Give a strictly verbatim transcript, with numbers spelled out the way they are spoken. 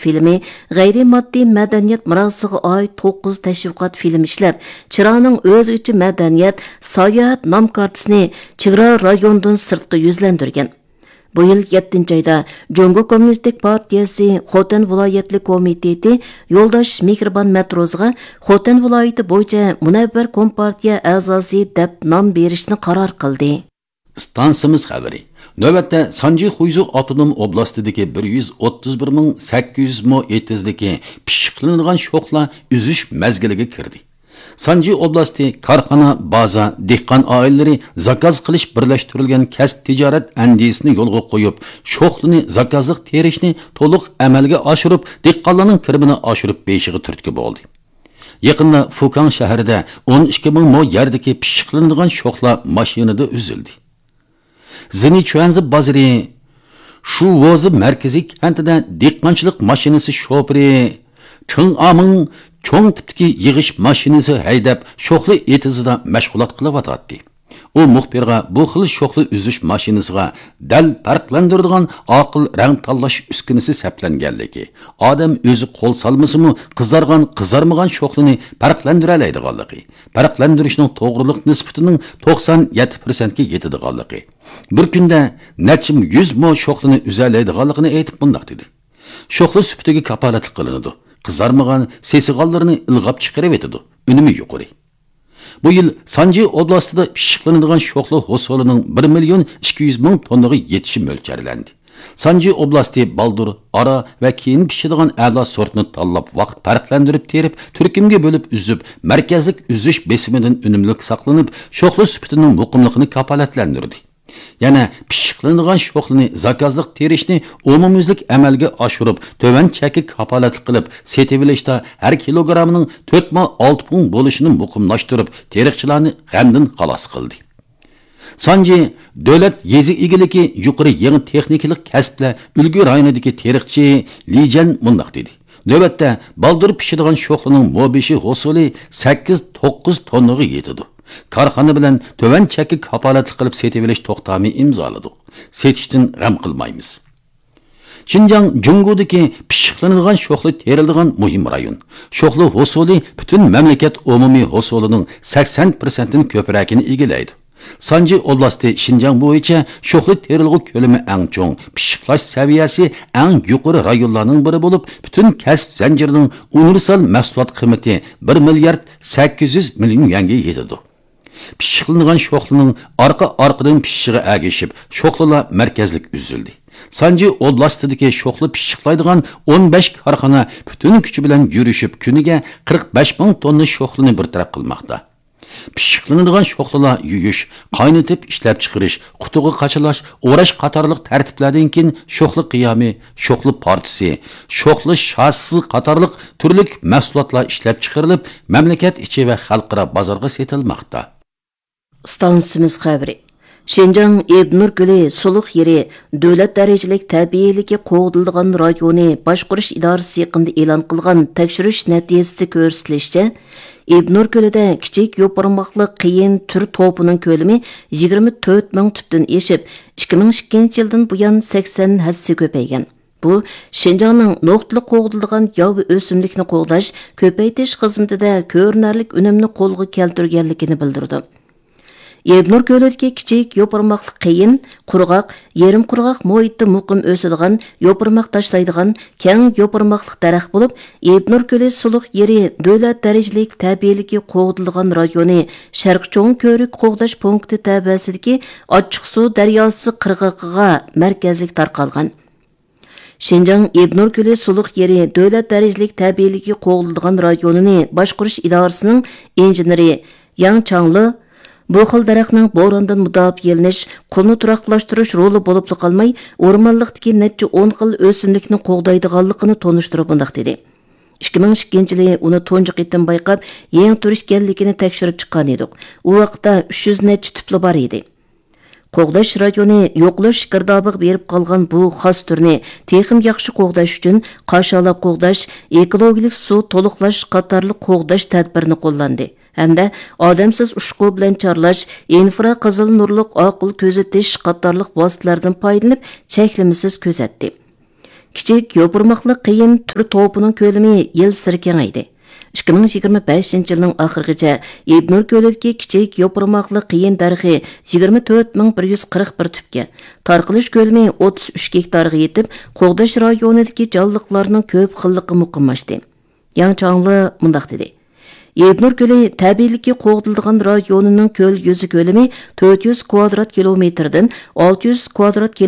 فىلىمى، غەيرىي ماددىي مەدەنىيەت مىراسىغا ئائىت توققۇز تەشۋىقات فىلىم ئىشلەپ، چىراغنىڭ ئۆزگىچە مەدەنىيەت، ساياھەت نام كارتىسىنى چېگرا رايونىدىن سىرتقا يۈزلەندۈرگەن. بۇ يىل يەتتىنچى ئايدا جۇڭگو كوممۇنىستىك پارتىيەسى خوتەن ۋىلايەتلىك كومىتېتى يولداش مېھرىبان مەتروسىغا خوتەن ۋىلايىتى بويىچە مۇنەۋۋەر كومپارتىيە ئەزاسى دەپ نام بېرىشنى قارار قىلدى. ئىستانسىمىز خەۋىرى. نۆۋەتتە سانجى خۇيزۇ ئاپتونوم ئوبلاستىدىكى بىر يۈز ئوتتۇز بىر مىڭ سەككىز يۈز مو ئېتىزدىكى پىششىقلىنىدىغان شوخلا ئۈزۈش مەزگىلىگە كىردى. سانجى ئوبلاستى كارخانا، بازا، دېھقان ئائىلىلىرى زاكاز قىلىش بىرلەشتۈرۈلگەن كەسىپ تىجارەت ئەندىزىسىنى يولغا قويۇپ، شوخلىنى زاكازلىق تېرىشنى تولۇق ئەمەلگە ئاشۇرۇپ، دېھقانلارنىڭ كىرىمىنى ئاشۇرۇپ بېرىشىغا تۈرتكە بولدى. يېقىندا فۇكاڭ شەھىرىدە ئون ئىككى مىڭ مو يەردىكى پىششىقلىنىدىغان شوخلا ماشىنىدا ئۈزۈلدى. زېنىچۈەنزى بازىرى شۇۋوزى مەركىزىي كەنتىدە دېھقانچىلىق ماشىنىسى شوپۇرى چېڭ ئامىڭ چوڭ تىپتىكى يىغىش ماشىنىسى ھەيدەپ، شوخلا ئېتىزىدا مەشغۇلات قىلىۋاتاتتى. ئۇ مۇخبىرغا بۇ خىل شوخلا ئۈزۈش ماشىنىسىغا دەل پەرقلەندۈرىدىغان ئاقىل رەڭ تاللاش ئۈسكۈنىسى سەپلەنگەنلىكى، ئادەم ئۆزى قول سالمىسىمۇ، قىزارغان، قىزارمىغان شوخلىنى پەرقلەندۈرەلەيدىغانلىقى، پەرقلەندۈرۈشنىڭ توغرىلىق نىسبىتىنىڭ توقسان يەتتە پىرسەنتكە يېتىدىغانلىقى، بىر كۈندە نەچچە يۈز مو شوخلىنى ئۈزەلەيدىغانلىقىنى ئېيتىپ مۇنداق دېدى: «شوخلا سۈپىتىگە كاپالەتلىك قىلىنىدۇ، قىزارمىغان، سېسىغانلىرىنى ئىلغاپ چىقىرىۋېتىدۇ، ئۈنۈمى يۇقىرى.» بۇ يىل سانجى ئوبلاستىدا پىششىقلىنىدىغان شوخلا ھوسۇلىنىڭ بىر مىليون ئىككى يۈز مىڭ توننىغا يېتىشى مۆلچەرلەندى. سانجى ئوبلاستى بالدۇر، ئارا ۋە كېيىن پىشىدىغان ئەلا سورتنى تاللاپ، ۋاقىت پەرقلەندۈرۈپ تېرىپ، تۈركۈمگە بۆلۈپ ئۈزۈپ، مەركەزلىك ئۈزۈش بېسىمىدىن ئۈنۈملۈك ساقلىنىپ، شوخلا سۈپىتىنىڭ مۇقىملىقىنى كاپالەتلەندۈردى. يەنە پىششىقلىنىدىغان شوخلىنى زاكازلىق تېرىشنى ئومۇميۈزلۈك ئەمەلگە ئاشۇرۇپ، تۆۋەن چەككە كاپالەتلىك قىلىپ سېتىۋېلىشتا ھەر كىلوگراممىنىڭ تۆت مو ئالتە پۇڭ بولۇشىنى مۇقىملاشتۇرۇپ، تېرىقچىلارنى غەمدىن خالاس قىلدى. سانجى دۆلەت يېزا ئىگىلىكى يۇقىرى يېڭى تېخنىكىلىق كەسىپلەر ئۈلگە رايونىدىكى تېرىقچى لى جەن مۇنداق دېدى: «نۆۋەتتە بالدۇر پىشىدىغان شوخلىنىڭ مو بېشى ھوسۇلى سەككىز توققۇز توننىغا يېتىدۇ. كارخانا بىلەن تۆۋەن چەككە كاپالەتلىك قىلىپ سېتىۋېلىش توختامى ئىمزالىدۇق. سېتىشتىن غەم قىلمايمىز.» شىنجاڭ جۇڭگودىكى پىششىقلىنىدىغان شوخلا تېرىلىدىغان مۇھىم رايون. شوخلا ھوسۇلى پۈتۈن مەملىكەت ئومۇمىي ھوسۇلىنىڭ سەكسەن پىرسەنتتىن كۆپرەكىنى ئىگىلەيدۇ. سانجى ئوبلاستى شىنجاڭ بويىچە شوخلا تېرىلغۇ كۆلىمى ئەڭ چوڭ، پىششىقلاش سەۋىيەسى ئەڭ يۇقىرى رايونلارنىڭ بىرى بولۇپ، پۈتۈن كەسىپ زەنجىرىنىڭ ئۇنىۋېرسال مەھسۇلات قىممىتى بىر مىليارد سەككىز يۈز مىليون يۈەنگە يېتىدۇ. پىششىقلىنىدىغان شوخلىنىڭ ئارقا-ئارقىدىن پىشىشىغا ئەگىشىپ، شوخلىلار مەركەزلىك ئۈزۈلدى. سانجى ئوبلاستىدىكى شوخلا پىششىقلايدىغان ئون بەش كارخانا پۈتۈن كۈچى بىلەن يۈرۈشۈپ، كۈنىگە قىرىق بەش مىڭ توننا شوخلىنى بىر تەرەپ قىلماقتا. پىششىقلىنىدىغان شوخلىلار يۇيۇش، قاينىتىپ ئىشلەپچىقىرىش، قۇتىغا قاچىلاش، ئوراش قاتارلىق تەرتىپلەردىن كېيىن شوخلا قىيامى، شوخلا پارچىسى، شوخلا شاسىسى قاتارلىق تۈرلۈك مەھسۇلاتلار ئىشلەپچىقىرىلىپ، مەملىكەت ئىچى ۋە خەلقئارا بازارغا سېتىلماقتا. ئىستانسىمىز خەۋىرى. شىنجاڭ ئىبنۇر كۆلى سۇلۇق يېرى دۆلەت دەرىجىلىك تەبىئىيلىكى قوغدىلىدىغان رايونى باشقۇرۇش ئىدارىسى يېقىندا ئېلان قىلغان تەكشۈرۈش نەتىجىسىدە كۆرسىتىلىشىچە، ئىبنۇر كۆلىدە كىچىك يوپۇرماقلىق قېيىن تۈر توپىنىڭ كۆلىمى يىگىرمە تۆت مىڭ تۈپتىن ئېشىپ، ئىككى مىڭ ئىككىنچى يىلدىن بۇيان سەكسەن ھەسسە كۆپەيگەن. بۇ، شىنجاڭنىڭ نۇقتىلىق قوغدىلىدىغان ياۋا ئۆسۈملۈكنى قوغداش، كۆپەيتىش خىزمىتىدە كۆرۈنەرلىك ئۈنۈمنى قولغا كەلتۈرگەنلىكىنى بىلدۈرىدۇ. ئىبنۇر كۆلىدىكى كىچىك يوپۇرماقلىق قېيىن، قۇرغاق، يېرىم قۇرغاق مۇھىتتا مۇقىم ئۆسىدىغان، يوپۇرماق تاشلايدىغان، كەڭ يوپۇرماقلىق دەرەخ بولۇپ، ئىبنۇر كۆلى سۇلۇق يېرى دۆلەت دەرىجىلىك تەبىئىيلىكى قوغدىلىدىغان رايونى شەرقىي چوڭ كۆۋرۈك قوغداش پونكىتى تەۋەسىدىكى ئاچچىقسۇ دەرياسى قىرغىقىغا مەركەزلىك تارقالغان. شىنجاڭ ئىبنۇر كۆلى سۇلۇق يېرى دۆلەت دەرىجىلىك تەبىئىيلىكى قوغدىلىدىغان رايونىنى باشقۇرۇش ئىدارىسىنىڭ ئىنژېنېرى ياڭ چاڭلې بۇ خىل دەرەخنىڭ بوراندىن مۇداپىئەلىنىش، قۇمنى تۇراقلاشتۇرۇش رولى بولۇپلا قالماي، ئورمانلىقتىكى نەچچە ئون خىل ئۆسۈملۈكنى قوغدايدىغانلىقىنى تونۇشتۇرۇپ مۇنداق دېدى: «ئىككى مىڭ ئىككىنچى يىلى ئۇنى تۇنجى قېتىم بايقاپ، يېڭى تۈر ئىكەنلىكىنى تەكشۈرۈپ چىققان ئىدۇق. ئۇ ۋاقىتتا ئۈچ يۈز نەچچە تۈپلا بار ئىدى.» قوغداش رايونى يوقىلىش گىردابىغا بېرىپ قالغان بۇ خاس تۈرنى تېخىمۇ ياخشى قوغداش ئۈچۈن قاشالاپ قوغداش، ئېكولوگىيەلىك سۇ تولۇقلاش قاتارلىق قوغداش تەدبىرىنى قوللاندى ھەمدە ئادەمسىز ئۇچقۇ بىلەن چارلاش، ئىنفرا قىزىل نۇرلۇق ئاقىل كۆزىتىش قاتارلىق ۋاسىتىلەردىن پايدىلىنىپ چەكلىمىسىز كۆزەتتى. كىچىك يوپۇرماقلىق قېيىن تۈر توپىنىڭ كۆلىمى يىلسېرى كېڭەيدى. ئىككى مىڭ يىگىرمە بەشىنچى يىلنىڭ ئاخىرىغىچە ئېبنۇر كۆلىدىكى كىچىك يوپۇرماقلىق قېيىن دەرىخى يىگىرمە تۆت مىڭ بىر يۈز قىرىق بىر تۈپكە، تارقىلىش كۆلىمى ئوتتۇز ئۈچ گېكتارغا يېتىپ، قوغداش رايونىدىكى جانلىقلارنىڭ كۆپ خىللىقى مۇقىملاشتى. ياڭ چاڭلى مۇنداق دېدى: ئېبنۇر كۆلى تەبىئىيلىكى قوغدىلىدىغان رايونىنىڭ كۆل يۈزى كۆلىمى تۆت يۈز كۋادرات كىلومېتىردىن ئالتە يۈز كۋادرات